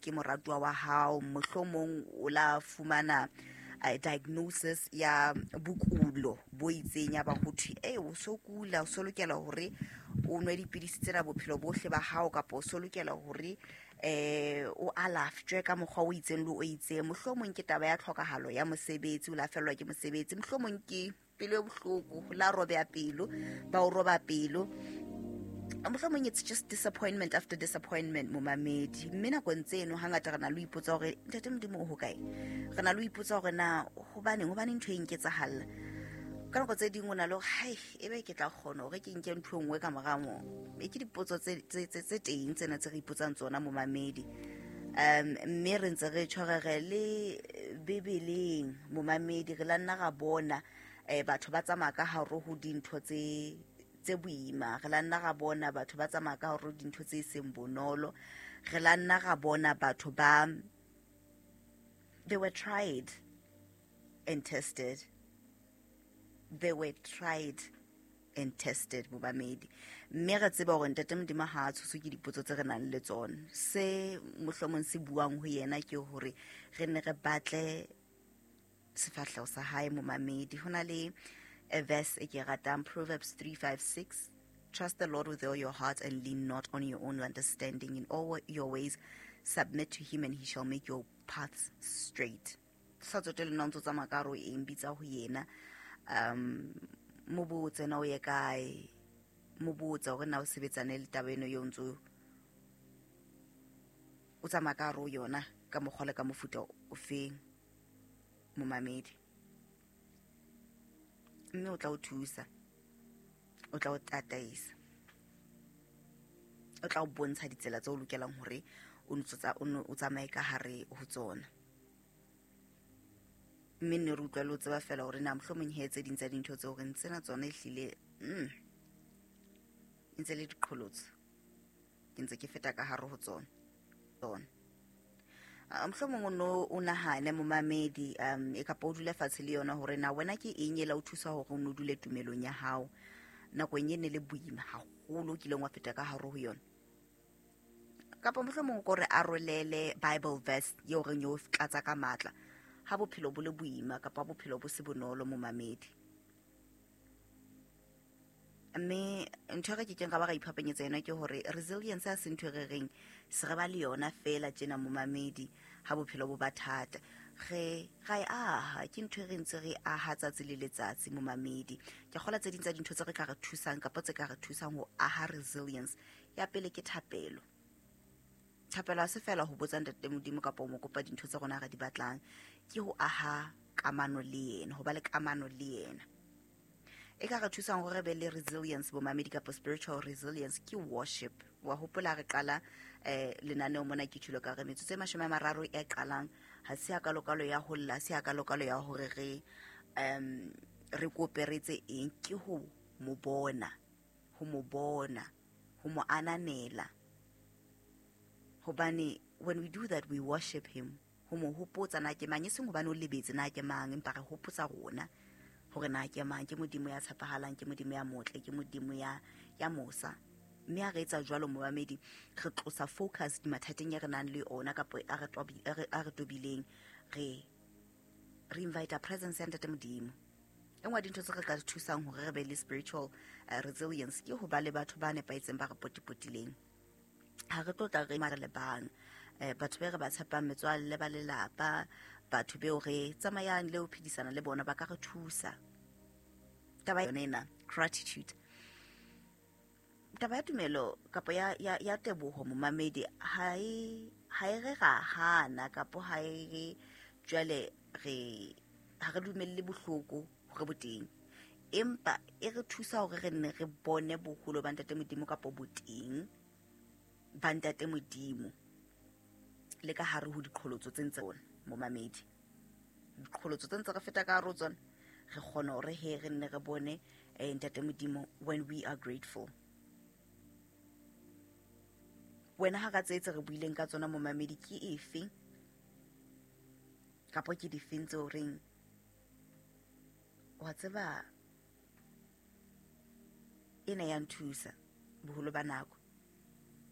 ke moratuwa wa hao, mohlomong o la fumana diagnosis ya bokulo bo itseng, ya ba ho thwe e o so kula, o so lokela hore o nwe dipidisi tsena bophelo bohle ba hao, kapa o so lokela hore o alafjwe ka mokgwa o itseng le o itseng. Mohlomong ke taba ya tlhokahalo ya mosebetsi, o la fellwa ke mosebetsi, mohlomong ke pelo e bohloko, la robeha pelo, ba o roba pelo, mohlomong it's just disappointment after disappointment, momamedi. Mme nakong tseno hangata re na le ho ipotsa hore ntate Modimo o hokae, re na le ho ipotsa hore na hobaneng ntho e nketsahalla. Ka nako tse ding o na le hore hai, ebe ke tla kgona hore ke nke ntho e nngwe ka mora moo. E ke dipotso tse teng tsena tse re ipotsang tsona, momamedi. Mme re ntse re tshwarere le Bibeleng, momamedi, re la nna ra bona batho ba tsamaya ka hare ho dintho tse boima, re la nna ra bona batho ba tsamaya ka hare ho dintho tse seng bonolo, re la nna ra bona batho ba, they were tried and tested, they were tried and tested, momamedi. Mme re tseba hore ntate Modimo ha a tshoswe ke dipotso tse re nang le tsona. Se mohlomong se buang ho yena ke hore re ne re batle sefahleho sa hae, momamedi. Ho na le a verse e ke ratang, Proverbs 3:5-6: "Trust the Lord with all your heart and lean not on your own understanding. In all your ways submit to him and he shall make your paths straight." Sa tsotelle na o ntso tsamaya ka hare ho eng, bitsa ho yena, mo botse na o ye kae, mo botse hore na o sebetsane le taba eno eo ntso o tsamaya ka hare ho yona ka mokgwa le ka mofuta o feng, momamedi. Mme o tla o thusa, o tla o tataisa, o tla o bontsha ditsela tse o lokelang hore o tsamaye ka hare ho tsona. Mme nne re utlwa le o tseba fela hore na mohlomong he tse ding tsa dintho tseo re ntsena tsona ehlile e ntse le diqholotso, ke ntse ke feta ka hare ho tsona. Mohlomong o no o nahane, momamedi, e kapa o dule fatshe le yona hore na wena ke eng e la o thusa hore o no dule tumelong ya hao nakong e ne le boima haholo o kileng wa feta ka hare ho yona. Kapa mohlomong o ko re arolele Bible verse eo reng yo tlatsa ka matla ha bophelo bo le boima kapa bophelo bo se bonolo, momamedi. Mme ntho e re kekeng ra ba ra iphapanyetsa yona ke hore resilience ha se ntho e re reng se re ba le yona fela tjena, momamedi, ha bophelo bo ba thata. Re ra e aha, ke ntho e re ntse re aha tsatsi le letsatsi, momamedi. Ke kgola tse ding tsa dintho tse re ka re thusang kapa tse ka re thusang ho aha resilience, ya pele ke thapelo. Thapelo ha se fela ho botsa ntate Modimo kapa ho mo kopa dintho tse rona re di batlang, ke ho aha kamano le yena, ho ba le kamano le yena. E ka re thusang hore re be le resilience, bomamedi, kapa spiritual resilience ke worship. Wa hopola re qala lenaneo mona, ke tjholo ka re metsotso e 30 e qalang ha se ya kalokalo ya ho lla, se ya kalokalo ya hore re kope re etse eng, ke ho mo bona, ho mo bona, ho mo ananela. Hobane when we do that, we worship him, ho mo hopotsa na ke mang, e seng hobane o lebetse na ke mang, empa re hopotsa rona hore na ke mang. Ke Modimo ya tshepahalang, ke Modimo ya motle, ke Modimo ya mosa. Mme ha re etsa jwalo, momamedi, re tlosa focus dimathateng e re nang le ona kapa a re tobileng, re invite presence ya ntate Modimo. E nngwe ya dintho tse re ka thusang hore re be le spiritual resilience ke ho ba le batho ba nepahetseng ba re potipotileng. Ha re tlo tla re mare le bang, batho be re ba tshepang, metswalle, ba lelapa, batho beo re tsamayang le ho phedisana le bona, ba ka re thusa. Taba yona ena, gratitude, taba ya tumelo kapa ya teboho, momamedi, ha e re ra hana kapa ha e re jwale re ha re dumelle bohloko hore bo teng, empa e re thusa hore re nne re bone boholo ba ntate Modimo kapa boteng ba ntate Modimo le ka hare ho diqholotso tse ntse rona, momamedi. Diqholotso tse ntse re feta ka hare ho tsona, re kgona hore he re nne re bone ntate Modimo when we are grateful. Wena ha ka tse tse re buileng ka tsona, momamedi, ke efe kapa ke difeng tseo reng wa tseba ena ya nthusa boholo ba nako?